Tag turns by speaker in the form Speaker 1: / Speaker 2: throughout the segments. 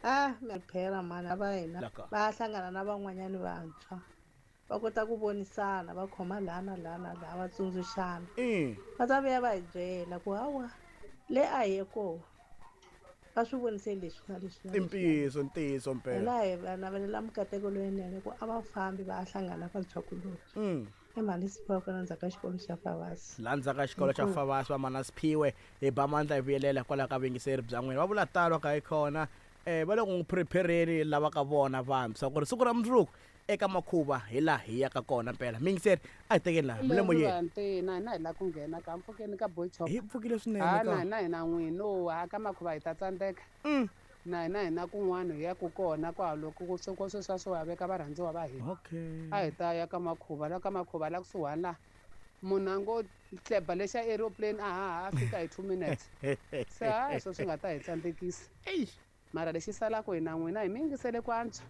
Speaker 1: A mi phela mhani va hina
Speaker 2: Laka.
Speaker 1: va ya hlangana na van'wanyani vantshwa va kota ku vonisana va khoma laha na laha na laha va tsundzuxana va ta vuya va hi byela ku hawa le a hi ye koho va swi vonise leswi na leswi na
Speaker 2: I
Speaker 1: leswi.
Speaker 2: ntiyiso ntiyiso mpela
Speaker 1: Hina hi va navelela mikateko leyinene ku a va fambi va ya hlangana vantshwakulorhi i mhani Siphiwe kwala ndzhaku ka xikolo xa Favasi
Speaker 2: laha ndzhaku ka xikolo xa Favasi va mana Siphiwe hi ba mandla hi vuyelela hikwalaho ka vuyingiseri bya n'wina va vula talo ka hi khona um va le ku n'wi prepare-ni lava ka vona vantshwa ku ri siku ra mundzuku eka makhuva hi laha hi yaka kona mpela miyingiseri a hi tekeni laha mi le moyeni
Speaker 3: Ntina hina hi lava ku nghena ka mpfukeni ka boy chop
Speaker 2: hi pfukile swinene
Speaker 3: ha
Speaker 2: ka
Speaker 3: na hina hi na n'wino ha ka makhuva hi ta tsandzeka na hina hi na kun'wana hi yaku kona kwaloko ku swi sweswiya swo ya veka varhandziwa va hina
Speaker 2: okay
Speaker 3: a hi ta ya ka makhuva la ka makhuva la kusuhani la munhu a ngo tleba lexa aeroplane a haha a fika hi 2 minutes se hayi swo swi nga ta hi tsandzekisa mara lexi salaka hina n'wina hi mi yingisele ku antswa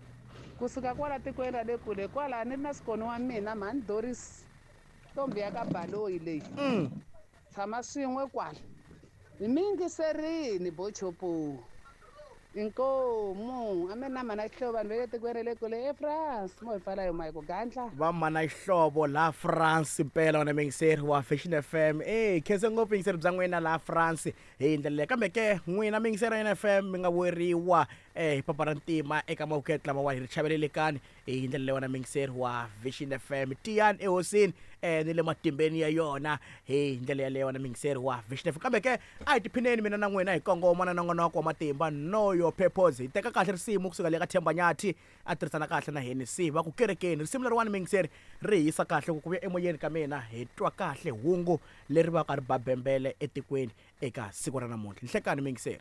Speaker 3: kusuka kwala tikweni ra le kule kwala ni ri na sikoni wa mina mhani Doris ntombi ya ka baloyi leyi tshama swin'we kwala hi mi yingiserini bochopo inkomu a mi na mhana xihlovo vanhu va le tikweni ra le kule eFrance mo hi pfala yo mayi ku gandla
Speaker 2: va mana xihlovo laha France mpela wena muyingiseri wa Fashion FM e khense ngopfu yingiseri bya n'wina laha France hi ndlela leyi kambe ke n'wina miyingiseri ya FM mi nga weriwa hi papa ra ntima eka mawukete lama wa hi ri chavelelekani hi ndlela leyi wena muyingiseri wa Vision FM tiyani ehosini ni le matimbeni ya yona hi ndlela yaleyo wena muyingiseri wa Vision FM kambe ke a hi tiphineni mina na n'wina hi kongoma na nongonoko wa matimba know your purpose hi teka kahle risimu kusuka le ka Themba Nyathi a tirhisana kahle na Hennessy va ku kerekeni risimu leriwani muyingiseri ri hisa kahle ku vuya emoyeni ka mina hi twa kahle hungu leri va ka ri babembele etikweni eka siku ra namuntlha nhlekani muyingiseri.